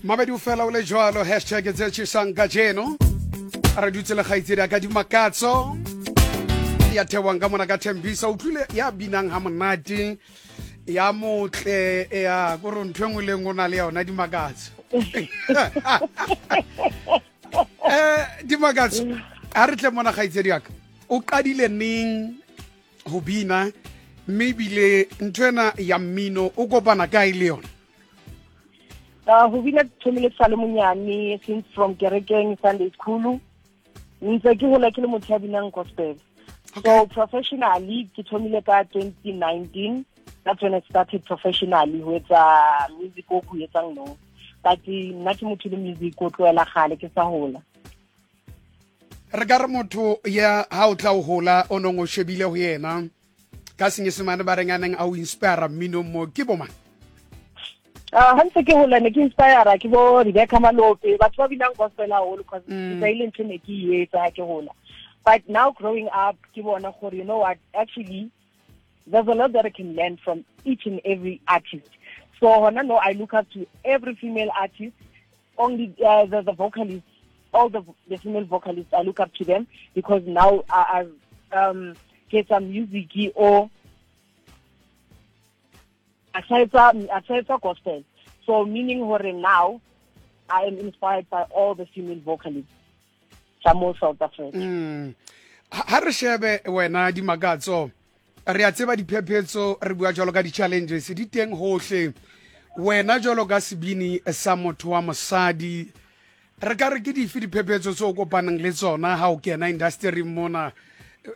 Mabedi o fela o le jwalo hashtag tse tšhesang kajeno re dutse le kgaitsedi ya ka Dimakatso ya thewang ka mona ka Thembisa. Utlwile ya binang ha monate ya motle ya kore ntho e nngwe le nngwe o na le yona Dimakatso. Dimakatso, ha re tle mona kgaitsedi ya ka, o qadile neng ho bina mme ebile ntho ena ya mmino o kopana kae le yona? Ho bina thomile ke sa le monyane, since from kerekeng, Sunday school, ntse ke hola ke le motho ya binang gospel. So professionally ke thomile ka 2019. That's when I started professionally ho etsa music o ko etsang no, but nna ke motho le music o tlohela gale ke sa hola. Re ka re motho ya ha o tla o hola o nong o shebile ho yena ka Senyesemane ba reng a neng a o inspire mminong mo ke bo mang? Ha ntse ke hola ne ke inspire ke bo Rebecca Malope, batho ba binang gospel haholo, cause ke ile ntho ne ke e etsa ha ke hola. But now growing up ke bona gore, you know what, actually there's a lot that I can learn from each and every artist. So hona no, I look up to every female artist, only the vocalists, all the female vocalists, I look up to them because now I get some music or aside gospel. So meaning hore now I am inspired by all the female vocalists tsa mo South Africa. Ha re shebe wena Dimakatso, re a tseba diphephetso, re bua jwalo ka di-challenges di teng hohle. Wena jwalo ka sebini sa motho wa mosadi, re ka re ke dife diphephetso tse o kopanang le tsona ha o kena industry mona,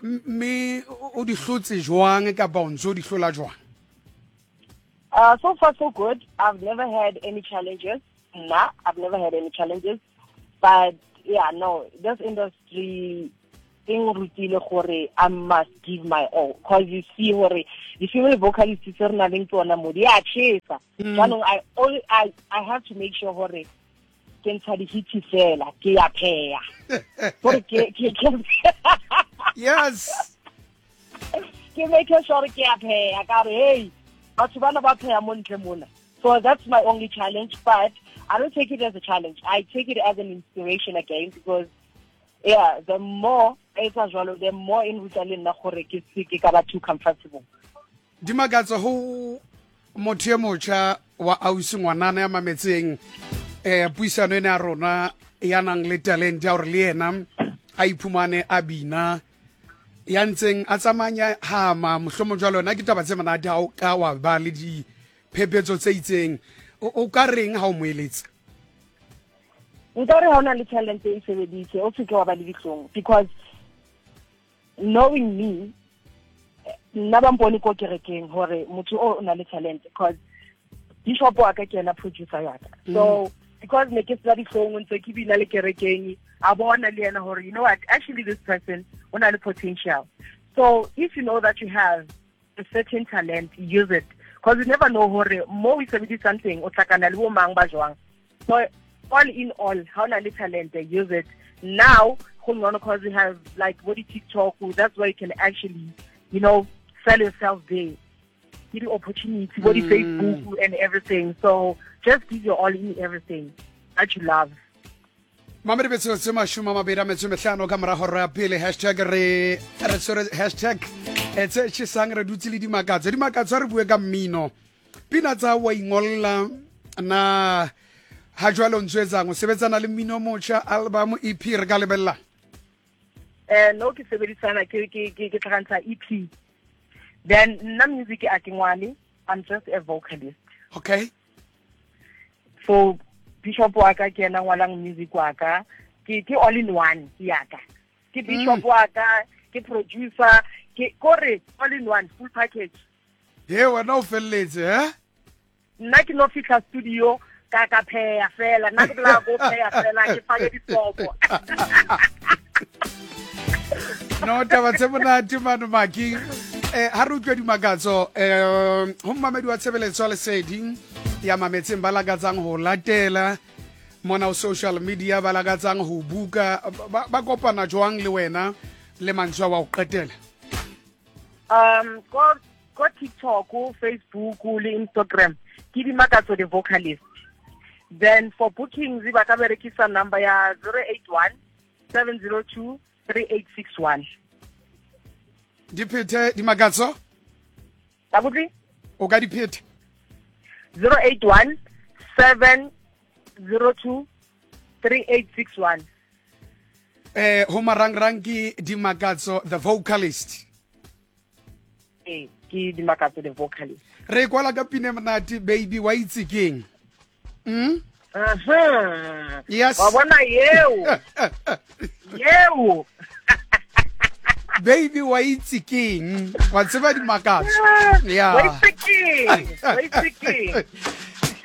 mme o di hlotse jwang kapa o ntse o di hlola jwang? So far so good. I've never had any challenges. Nah, I've never had any challenges. But yeah, no, this industry e nrutile gore I must give my all, because you see gore the female vocalists tse re nang le tsona mo di a chesa. Jaanong I have to make sure gore ke ntsha di-hits fela, ke ya pheya gore ke ke make sure ke ya pheya ka re, hey, batho bana ba pheya mo ntle mona. So that's my only challenge, but I don't take it as a challenge. I take it as an inspiration again, because yeah, the more etsa jwalo, the more e nruta le nna gore ke se ke ka ba too comfortable. Dimakatso, ho motho e motjha wa ausi ngwanana ya mametseng puisano ena ya rona, ya nang le talent ya hore le yena a iphumane a bina, ya ntseng a tsamanya hama mohlomong jwalo, yona ke taba tse monate ha o ka wa ba le diphephetso tse itseng, o ka reng ha o mo eletsa? Nka re ha o na le talent, e sebedise, o seke wa ba le dihlong, because knowing me, nna ba mpone ko kerekeng hore motho o na le talent, because bishop wa ka ke ena producer ya ka. So because ne ke sena dihlong, ntse ke bina le kerekeng, a bona le yena hore, you know what, actually this person o na le potential. So if you know that you have a certain talent, use it, because you never know hore mo o sebedisang teng o tlhakana le bo mang ba jwang. So all in all, ha o na le talent, use it now. Go ngcono because you have like what TikTok, that's where you can actually sell yourself there, ke di-opportunity bo di-Facebook and everything. So just give your all in everything that you love. Mamedi, metsotso 25 ka morago re ya pele. Hashtag re tshwere hashtag tse tšhesang, re dutse le Dimakatso. Dimakatso, re bue ka mmino, pina tsa wa ingolla na ha jwale o ntse etsang, o sebetsana le mmino o motjha, album, EP, re ka lebella? No, ke sebedisana ke tlhakantsha EP, then nna music a ke ngwale, I'm just a vocalist. So bishop wa ka ke ena ngwalang music wa ka. Ke all in one ke yaka, ke bishop wa ka, ke producer, ke kore all in one, full package. He, wena o felletse eh? Nna ke no fitlha studio ka pheya fela, nna ke bolaya ko pheya fela, ke fake disopo. No, taba tse monate mano maki. Ha re utlwe Dimakatso, ho mmamedi wa tshebeletso ya Lesedi ya mametseng, ba lakatsang ho latela mona ho social media, ba lakatsang ho buka, ba kopana jwang le wena le mantswe wa ho qetela? Ko TikTok, Facebook le Instagram ke Dimakatso the Vocalist. Then for bookings ba ka berekisa number ya 081 702 3861. Di phethe Dimakatso? Abuti? O ka di phetha? 081 702 3861. Eh ho marangrang ke Dimakatso the vocalist. Ee, ke Dimakatso the vocalist. Re kwala ka pine monate baby wa itse keng? Yes. Wa bona yeo. Yeo. Baby wa itse keng? Wa tseba Dimakatso. Yeah. Wa itse keng? Wa itse keng?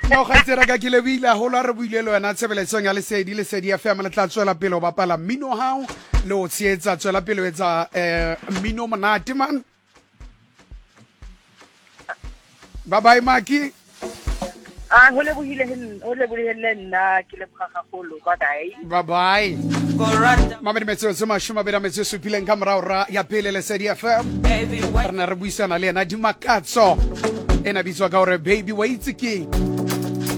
No kgaitsera ka ke lebohile haholo ha re buile le wena tshebeletsong ya Lesedi, Lesedi FM. Le tla tswela pele ho bapala mmino hao le ho tshehetsa, tswela pele ho etsa mmino monate man. Bye bye Maki. Ah, ho lebohile ho lebohile le nna, ke leboga gagolo. Bye bye. Bye bye. Mamedi metsotso 27 ka morao ra ya pele Lesedi FM. Re ne re buisana le yena Dimakatso, ena bitswa ka hore baby wa itse keng.